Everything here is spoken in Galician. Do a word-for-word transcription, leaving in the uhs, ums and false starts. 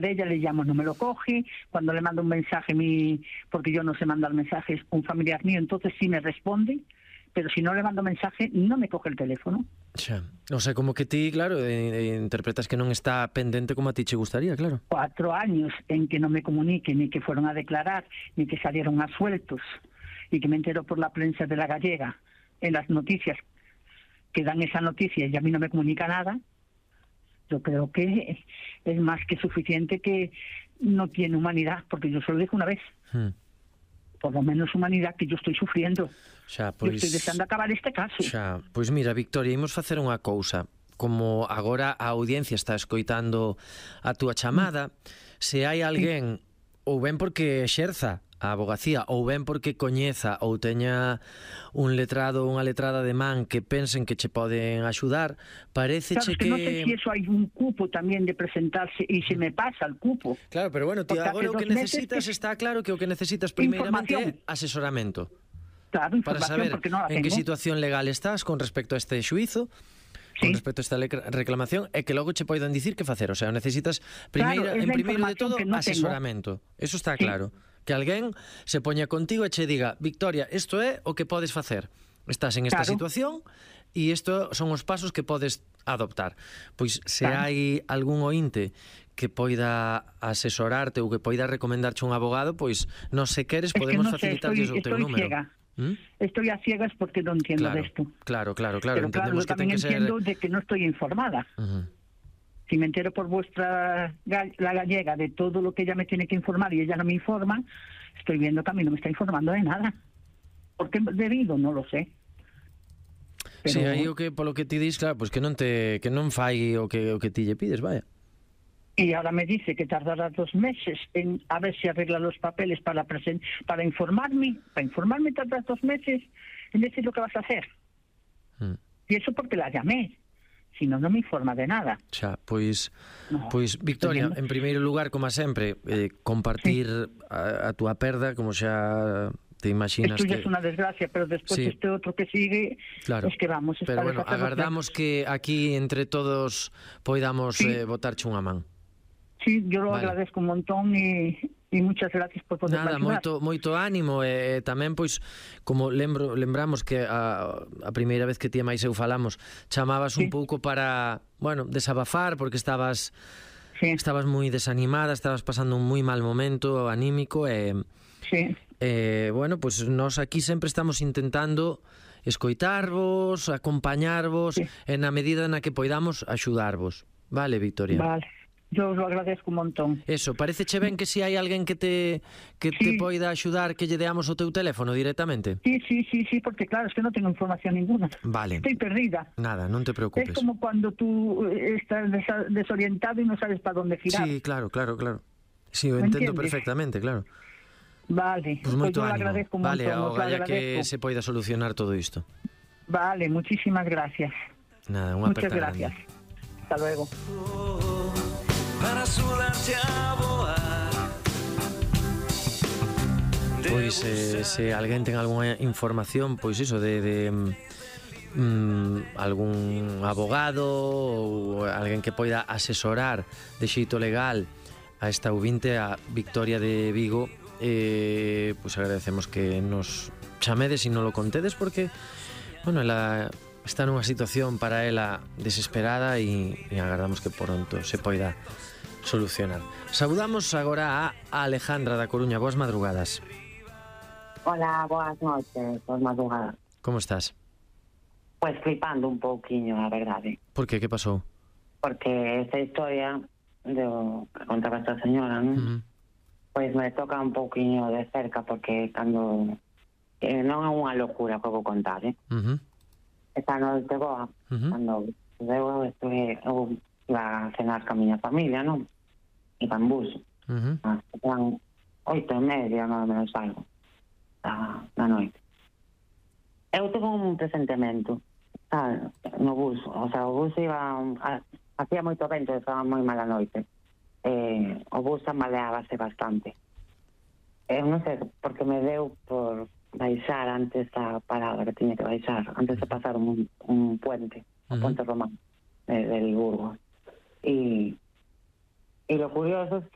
de ella, le llamo, no me lo coge. Cuando le mando un mensaje, mi, porque yo no sé mandar mensajes, un familiar mío, entonces sí me responde, pero si no le mando mensaje, no me coge el teléfono. Xa. O sea, como que ti, claro, eh, eh, interpretas que non está pendente como a ti che gustaría, claro. Cuatro años en que no me comunique, ni que fueron a declarar, ni que salieron a sueltos, y que me entero por la prensa de la gallega, en las noticias, que dan esa noticia y a mí no me comunica nada. Yo creo que es más que suficiente que no tiene humanidad, porque yo se lo dije una vez. Hmm. Por lo menos humanidad, que yo estoy sufriendo. Xa, Pois, pois, eu estoy deseando acabar este caso. Xa, pois mira, Victoria, imos facer unha cousa. Como agora a audiencia está escoitando a túa chamada, se hai alguén, ou ben porque exerza a abogacía, ou ben porque coñeza ou teña un letrado ou unha letrada de man que pensen que che poden axudar, pareceche claro, que... Claro, que non sei que... se eso hai un cupo tamén de presentarse e se me pasa el cupo. Claro, pero bueno, tío, agora o que necesitas que... está claro que o que necesitas primeiramente é asesoramento. Claro, para saber porque non la en tengo. que situación legal estás con respecto a este xuízo, con sí. respecto a esta reclamación, e que logo che poidan dicir que facer. O sea, necesitas primeira, claro, en primeiro de todo no asesoramento. Tengo. Eso está sí. claro. Que alguén se poña contigo e che diga: Victoria, isto é o que podes facer. Estás en esta claro. situación e isto son os pasos que podes adoptar. Pois se claro. hai algún ointe que poida asesorarte ou que poida recomendarche un abogado, pois non se queres, podemos es que no facilitarlles o teu número. Ciega. ¿Mm? Estoy a ciegas porque no entiendo claro, de esto. Claro, claro, claro. Pero Entendemos claro, que ten que ser... entiendo de que no estoy informada. Uh-huh. Si me entero por vuestra la gallega de todo lo que ella me tiene que informar y ella no me informa, estoy viendo que a mí no me está informando de nada. ¿Por qué debido? No lo sé. Pero... Sí, aí o que polo que ti dis, claro, pues que non te que non fai o que o que ti lle pides, vaya. Y ahora me dice que tardará dos meses en a ver si arregla los papeles para presen para informarme, para informarme tardas dos meses en decir lo que vas a hacer. Mm. Y eso porque la llamé. Si no, non me informa de nada. Xa, pois, no, pois Victoria, en primeiro lugar, como sempre, eh, compartir sí. a, a túa perda, como xa te imaginas. Esto ya que... es una desgracia, pero después sí. este otro que sigue, claro. es que vamos... Pero bueno, agardamos que aquí entre todos poidamos sí. eh, botarche unha man. Sí, yo lo vale. agradezco un montón e... E muchas gracias por poder Nada, moito, moito ánimo e, e tamén, pois, como lembro, lembramos que a, a primeira vez que ti e máis eu falamos chamabas sí. un pouco para, bueno, desabafar porque estabas sí. estabas moi desanimada, estabas pasando un moi mal momento anímico e, sí. e bueno, pois nós aquí sempre estamos intentando escoitarvos, acompañarvos sí. e na medida na que poidamos axudarvos. Vale, Victoria? Vale. Yo os lo agradezco un montón. Eso, pareceche ben que si hai alguén que te que sí. te poida axudar que lle deamos o teu teléfono directamente? Sí, sí, sí, sí, porque claro, es que non tengo información ninguna. Vale. Estoy perdida. Nada, non te preocupes. Es como cuando tú estás desorientado y no sabes para dónde girar. Sí, claro, claro, claro. Sí, lo entiendo perfectamente, claro. Vale, pues moito pues yo ánimo. Lo agradezco un vale, montón. Vale, que se poida solucionar todo isto. Vale, muchísimas gracias. Nada, unha Muchas gracias. Grande. Hasta luego. Para axudarte a voar. Pois eh, se alguén ten algunha información, pois iso de, de mm, algún abogado ou alguén que poida asesorar de xeito legal a esta ouvinte, a Victoria de Vigo, eh, pois agradecemos que nos chamedes e non lo contedes porque, bueno, ela está nunha situación para ela desesperada e, e agardamos que pronto se poida solucionar. Saudamos agora a Alejandra da Coruña. Boas madrugadas. Hola, boas noches, boas madrugadas. Como estás? Pues flipando un pouquiño, a verdade. Por que? Que pasou? Porque esta historia do que contaba esta señora, non? Uh-huh. Pois me toca un pouquiño de cerca porque cando eh, non é unha locura que vou contar, eh? Uh-huh. Esta noite boa, uh-huh. cando eu estuve, eu iba a cenar ca miña familia, non? Iba en bus. Uh-huh. Ah, eran oito e media, non menos algo, da, da noite. Eu tuve un presentemento, ah, no bus, o sea, o bus iba, a, hacía moito vento, estaba moi mala noite. Eh, o bus amaleábase bastante. Eu non sei, porque me deu por baixar antes da parada que tiña que baixar, antes de pasar un, un puente, uh-huh. o puente romano de, del Burgos. Y, Y lo curioso es que